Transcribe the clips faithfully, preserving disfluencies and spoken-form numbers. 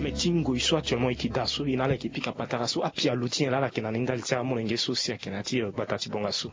Me ti ngoi so actuellement e ke daa so e na ala e ke pika patara so apialo ti nyen laa ala yeke na ni ndali ti amolenge so si ayeke na ya ti gbata ti bonga so?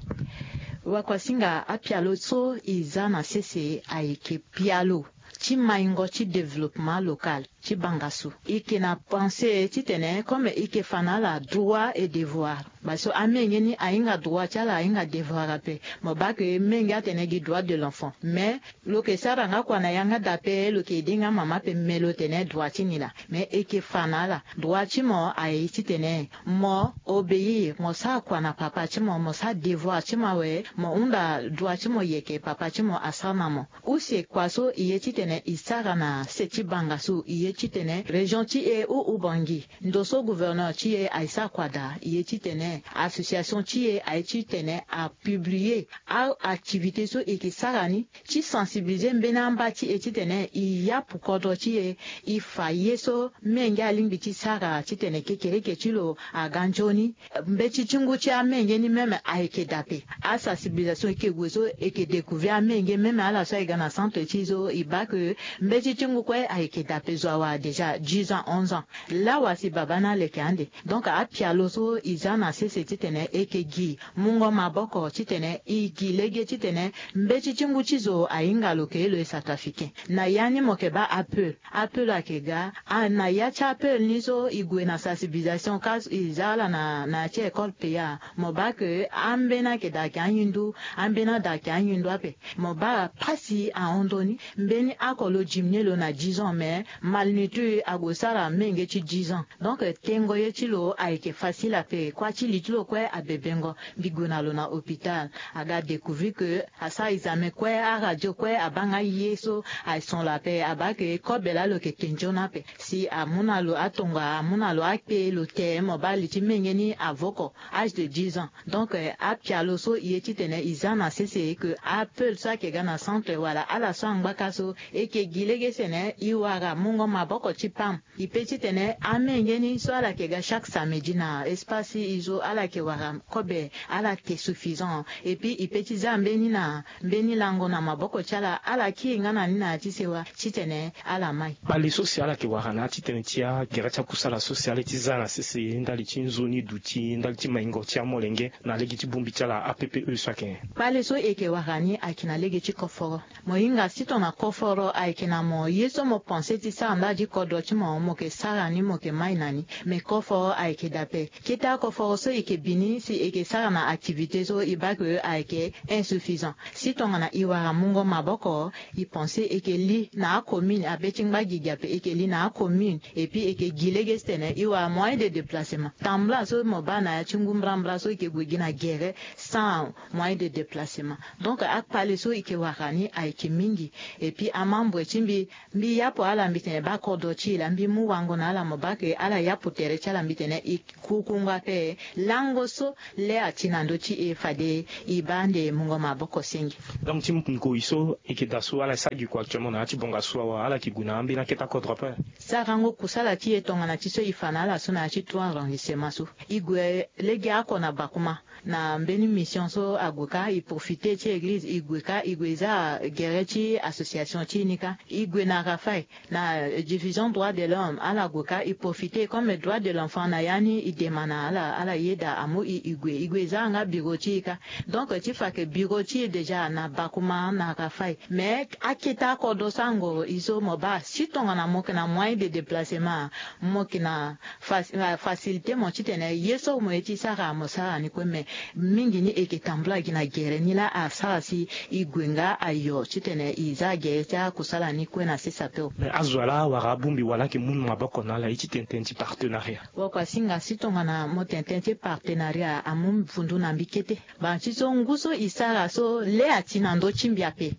Wakuasinga, apialo so e za na sese ayeke pialo ti maingo ti développement local ti banga so. E ke na pense titene comme e ke fa na ala droit et devoir, parce que amenge ni ahinga droit ti ala ahinga devoir ape. Mo baa ke menge atene gi droit de l'enfant, mais lo ke sara nga kua na yanga dape lo ke ede nga mama ape, me lo tene droit ti ni laa. Mais e ke fa na ala, droit ti mo aye titene mo obéir, mo sara kua na papa ti mo, mo sara devoir ti mo awe, mo hunda droit ti mo yeke papa ti mo asara na mo. Use kua so e ye titene e sara na se ti banga so, e ye titene région ti e ou ou Bangui, ndo so gouverneur ti e aye sara kua daa, e ye titene association ti e aye titene a publier a activité so e ke sara ni ti sensibiliser mbeni amba ti e titene e yapu kodro ti e, e fa ye so menge alingbi ti sara titene kekereke ti lo aga nzoni. Mbeti ti ngu ti amenge ni même ayeke dape. Asensibilisation e ke gue so e ke découvrir amenge, même ala so aye ga na centre ti e so e baa ke mbeti ti ngu kue ayeke dape, zo awara déjà dix ans, onze ans. Lawa si babâ ni aleke ande. Donc apialo so e za na sese titene e ke gi mungo maboko titene e gi lege titene mbeti ti ngu ti zo ahinga lo ke ye lo ye centrafricain. Na ya ni mo ke baa ape, ape lo ayeke ga, a na ya ti ape ni so e gue na sensibilisation ka e za ala na, na ya ti école payard. Mo baa ke ambeni ayeke daa ayeke ahindu, ambeni adaa ayeke ahindu ape. Mo baa pasi ahon ndoni, mbeni oko lo diminuer lo na dix ans, mais malnutri ague sara menge ti dix ans. Donc tengo ye ti lo ayeke facile ape, kua ti li ti lo kue abebengo. Mbi gue na lo na hôpital, aga découvrir ke asara examen kue, aradio kue abaa nga ye so ason lo ape, abaa ke kobe laa lo yeke te nzoni ape. Si amu na lo atonga, amu na lo akpe lo te, mo baa li ti menge ni avoko, âge de dix ans. Donc apialo so e ye titene e za na sese ke ape so ayeke ga na centre wala ala so angbaka so, e ke gi lege titene e wara mungo maboko ti pam. E pe titene amenge ni so ala yeke ga chaque samedi na espace ti e so ala yeke wara kobe, ala yeke suffisant. Et puis e pe ti za mbeni na mbeni lango na maboko ti ala, ala kiri nga na ni na ya ti sewa titene ala mai. Kpale so si ala yeke wara na ya ti tene ti agere ti akusala so si ala ye ti za na sese ndali ti nzoni duti ndali ti maingo ti amolenge na lege ti bongbi ti ala A P P E so ayeke nyen? Kpale so e yeke wara ni ayeke na lege ti koforo. Mo hinga si tongana koforo ayeke na mo, ye so mo pense ti sara ndali ti kodro ti mo, mo yeke sara ni, mo yeke mai na ni. Me koforo ayeke dape. Kete akoforo so e yeke bi ni si e yeke sara na activité so e baa ke ayeke insuffisant. Si tongana e wara mungo maboko, e pense e yeke li na acommune, abe ti ngba gigi ape, e yeke li na acommune, et puis e yeke gi lege titene e wara moyen de déplacement. Tambula so mo baa na ya ti ngu mbrambra so e yeke gue gi na gere sans moyen de déplacement. Donc akpale so e yeke wara ni ayeke mingi. Et puis amembre ti mbi, mbi yapo ala, mbi tene baa kodro ti e laa, mbi mu wango na ala, mo baa ke ala yapo tere ti ala, mbi tene e kukungo ape lango so le ati na ndö ti e fade e baa ande mungo maboko senge. Donc ti ngoi so e yeke daa so ala sara gi kua actuellement na ya ti bonga so awa, ala yeke gue na ambeni akete akodro ape. Sarango kusala ti e tongana ti so e fa na ala so na ya ti trois arrondissement so. E gue lege oko na Bakouma na mbeni mission so ague kâ, e profiter ti église, e gue kâ, e gue za gere ti association ti e ni kâ. E gue na Rafaï na division droit de l'homme, ala gue kâ, e profiter comme droit de l'enfant na ya ni, e dema na ala, ala yeda amu e, e gue, e gue za nga bureau ti e kâ. Donc ti fa ke bureau ti e déjà na Bakouma na Rafaï. Mais akete akodro so angoro e so mo baa si tongana mo yeke na moyen de déplacement, mo yeke na fac-, facilité mo titene ye so mo ye ti sara mo sara ni kue. Mais mingi ni e yeke tambula gi na gere ni laa asara si e gue nga ayo titene e za gere ti akusala ni kue na sese ape. Mais azo ala awara abongbi wala ayeke mu maboko na ala ye ti tene tënë ti partenariat? Wakuasinga, si tongana mo tene tënë ti partenariat amu vundu na mbi kete. Baa ti so ngu so e sara so le ati na ndö ti mbi ape.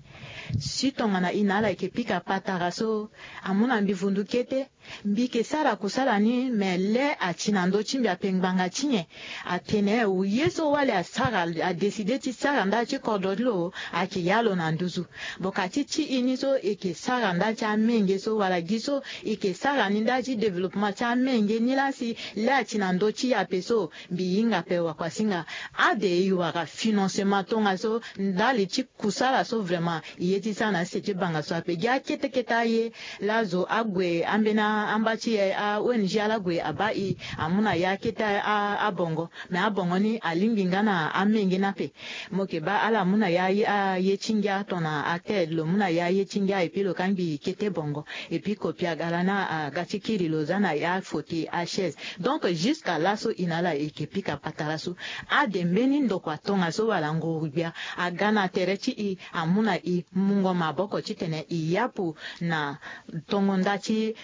Si tongana e na ala e yeke pika patara so, amu na mbi vundu kete. Mbi yeke sara kusala ni, me le ati na ndö ti mbi ape ngbanga ti nyen? Atene ye so wali asara, adécider ti sara ndali ti kodro ti lo, ayeke ya lo na nduzu. Bokati ti e ni so e yeke sara ndali ti amenge so wala gi so e yeke sara ni ndali ti développement ti amenge ni laa si le ati na ndö ti e ape so, mbi hinga ape wakuasinga. Ade e wara financement tongaso ndali ti kusala so vraiment e ye ti sara na sese ti banga so ape gi akete kete aye. Laa zo ague ambeni amba ti e a-ong ala gue abaa e amu na e akete abongo. Me abongo ni alingbi nga na amenge ni ape. Mo yeke baa ala mu na e aye ti ngia tongana atel lo mu na e aye ti ngia epui lo kangbi kete bongo. Epui kopi aga lani aga ti kiri lo za na e afauteuil achaise. Donc jusque laso e na ala e yeke pika patara so. Ade mbeni ndokua tongaso wala nguru-gbia aga na tere ti e amu na e mungo maboko titene e yapu na tongo nda ti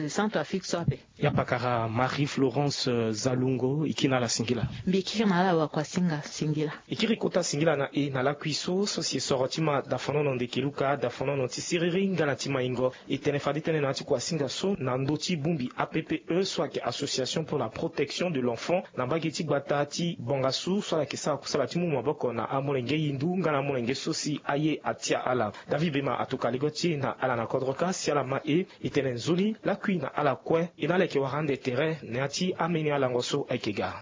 centre afrique so ape. Ya pakara marie florence zalungo e kiri na ala singila. Mbi kiri na ala wakuasinga singila. E kiri kota singila na e na lakui so so si e soro ti ma dafonono ndeke luka dafonono ti siriri nga na ti maingo. E tene fade tënë na ya ti kuasinga so na ndö ti bongbi appe so ayeke association pour la protection de l'enfant na mbage ti gbata ti bongasu so ala yeke sara kusala ti mu maboko na amolenge hindu nga na amolenge so si aye atia ala. David bema atuka lego ti e na ala na kodro kâ si ala ma e. E tene nzoni lakui na ala kue e na ala yeke wara ande tere na ya ti ameni alango so ayeke ga.